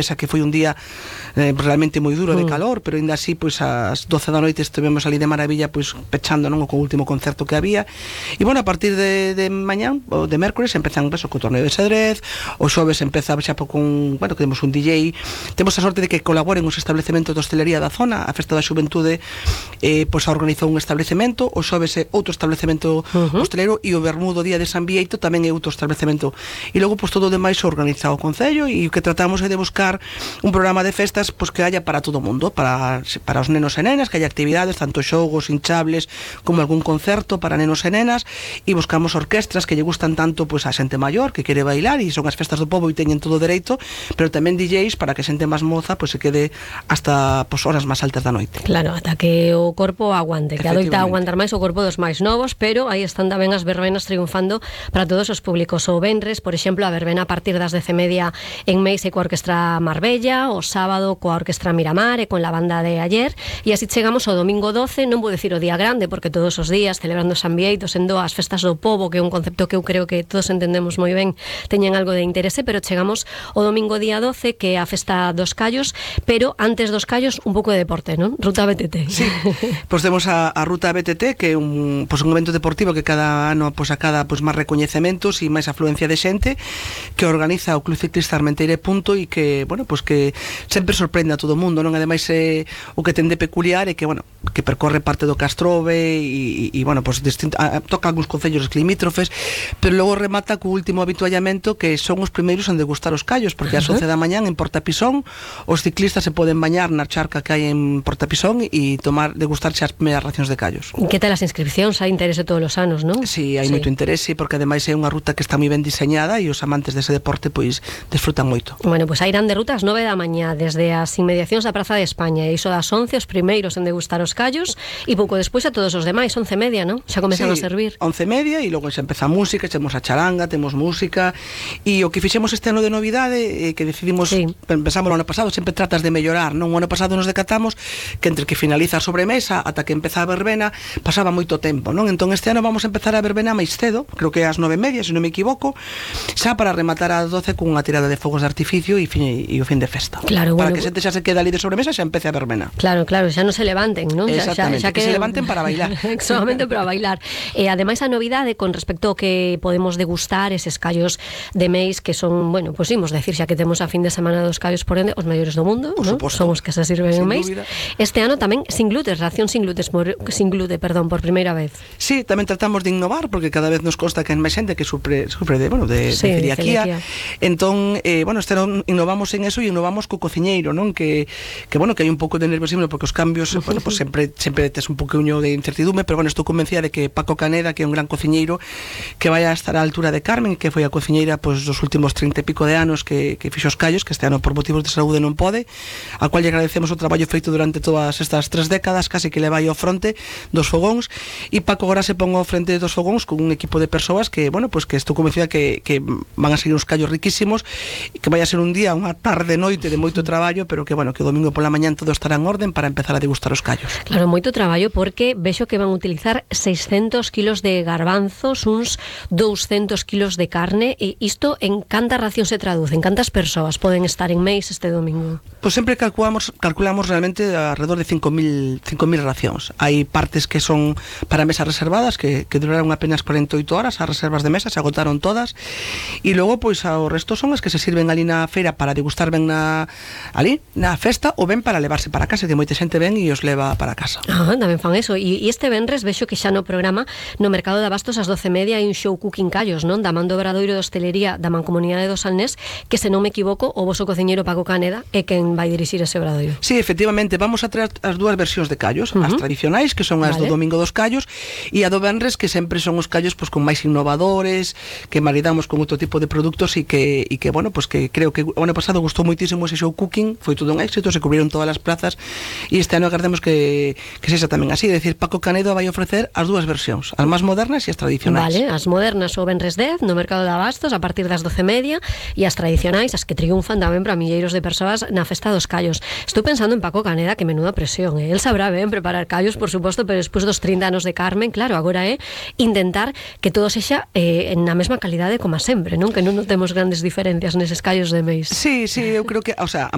esa que foi un día realmente moi duro de calor, pero ainda así pois ás 12 da noite estivemos ali de maravilla pois pechando, non, co último concerto que había. E bueno, a partir de mañán ou de mércores empezan co torneo de xadrez, o xoves empeza xa con, bueno, que temos un DJ, temos a sorte de que colaboren os establecementos de hostelería da zona, a Festa da Xuventude pois a organizou un establecemento, o xoves é outro establecemento hostelero e o Bermudo día de San Bieito tamén é outro establecemento. E logo pois todo o demais organiza o Concello e o que tratamos é de buscar un programa de festas pois que haya para todo o mundo, para os nenos e nenas, que haya actividades, tanto xogos, hinchables, como algún concerto para nenos e nenas, e buscamos orquestras que lle gustan tanto pois a xente maior que quere bailar e son as festas do pobo e teñen todo o dereito, pero tamén DJs para que xente máis moza pois se quede hasta pois horas máis altas da noite. Claro, ata que o corpo aguante, que adoita aguantar máis o corpo dos máis novos, pero aí están tamén as verbenas triunfando para todos os públicos. O venres, por exemplo, a verbena a partir das 10:30 en Meis e coa Orquestra Marbella, o sábado coa Orquestra Miramar e con la banda de ayer, e así chegamos ao domingo 12, non vou decir o día grande, porque todos os días celebrando San Bieito, sendo as festas do pobo, que é un concepto que eu creo que todos entendemos moi ben, teñen algo de interese, pero chegamos ao domingo día 12, que é a festa dos callos, pero antes dos callos un pouco de deporte, non? Ruta BTT. Sí, pois temos a Ruta BTT, que é un evento deportivo que cada ano acada máis recoñecementos e máis afluencia de xente, que organiza o Club Ciclista Armenteira e Punto, e que, bueno, pois que sempre sorprende a todo o mundo, non? Ademais o que ten de peculiar é que, bueno, que percorre parte do Castrove e bueno, pois toca algúns concellos limítrofes, pero logo remata co último habituallamento, que son os primeiros en degustar os callos, porque ás 11 da mañán en Portapisón os ciclistas se poden bañar na charca que hai en Portapisón e degustarse as primeiras racións de callos. Que tal as inscripcións? Hai interese todos os anos, non? Sí, hai moito interese, porque ademais é unha ruta que está moi ben diseñada e os amantes dese deporte pois desfrutan moito. Bueno, pois a irán de ruta ás 9 da mañá desde as inmediacións da Praza de España, e iso das 11 os primeiros en degustar os callos, e pouco despois a todos os demais, 11:30, non? Xa comezan a servir. 11:30 e logo xa empeza a música, temos a charanga, temos música, e o que fixemos este ano de novidade que decidimos, pensamos o ano pasado, sempre tratas de mellorar, non? O ano pasado nos decatamos que entre que finaliza a sobremesa ata que empeza a verbena pasaba moito tempo, non? Entón este ano vamos a empezar a verbena máis cedo, creo que ás 9:30, se non me equivoco, xa para rematar ás 12 cunha tirada de fogos de artificio e o fin de festa. Claro, para que xente xa se queda ali de sobremesa, xa empece a verbena. Claro, xa non se levanten, non? Exactamente, xa que se levanten para bailar. Solamente para bailar. E ademais a novidade con respecto ao que podemos degustar eses callos de Meis, que son, bueno, pois imos decir, xa que temos a fin de semana dos callos, por ende, os maiores do mundo, non? Son os que se sirven en Meis. Este ano tamén sin glutes, ración sin glute, por primeira vez. Sí, tamén tratamos de innovar, porque cada vez nos consta que hai máis xente que sufre de celiaquía. Entón, bueno, este ano innovamos en eso e innovamos co cociñeiro, non? Que bueno, que hai un pouco de nerviosismo porque os cambios, bueno, pues sempre tes un pouquiño de incertidume, pero bueno, estou convencida de que Paco Caneda, que é un gran cociñeiro, que vai a estar á altura de Carmen, que foi a cociñeira pues, dos últimos 30 e pico de anos que fixo os callos, que este ano por motivos de saúde non pode, a cual lle agradecemos o traballo feito durante todas estas 3 décadas, casi que le vai ao fronte dos fogóns, e Paco agora se pon ao frente dos fogóns con un equipo de persoas que, bueno, pues que estou convencida que van a seguir uns callos riquísimos, e que vai a ser un día, unha tarde, noite de moito traballo, pero que, bueno, que o domingo pola mañán todo estará en orden para empezar a degustar os callos. Claro, moito traballo, porque vexo que van a utilizar 600 kilos de garbanzos, uns 200 kilos de carne, e isto en canta ración se traduce, en cantas persoas poden estar en Meis este domingo? Pois sempre calculamos realmente alrededor de 5.000 racións. Hai partes que son para mesas reservadas, que duraron apenas 48 horas, as reservas de mesa se agotaron todas, e logo pois o resto son as que se sirven ali na feira para degustar ben ali na festa, ou ben para levarse para casa, que moita xente ven e os leva para casa. Tamén fan eso. E este venres vexo que xa no programa no Mercado de Abastos ás 12:30 hai un show cooking callos, non? Da man do Obradoiro de Hostelería da Mancomunidade do Salnés, que se non me equivoco, o voso cociñeiro Paco Caneda é quen vai dirixir ese obradoiro. Sí, efectivamente, vamos a traer as dúas versións de callos, as tradicionais, que son as do domingo dos callos, e a do venres, que sempre son os callos pues, con máis innovadores, que maridamos con outro tipo de produtos e que bueno, pues que creo que o ano pasado gustou moitísimo ese show cooking, foi todo un éxito, se cubrieron todas as plazas, e este ano agardemos que sexa tamén así, é dicir, Paco Canedo vai ofrecer as dúas versións, as máis modernas e as tradicionais. Vale, as modernas o venres 10 no Mercado de Abastos a partir das 12:30, e as tradicionais, as que triunfan tamén para milleiros de persoas na Festa dos Callos. Estou pensando en Paco Caneda, que menuda presión, El sabrá ben preparar callos, por suposto, pero despois dos 30 anos de Carmen, claro, agora é intentar que todo sexa na mesma calidade como sempre, non? Que non notemos grandes diferencias neses callos de Meis. Sí, eu creo que, o sea,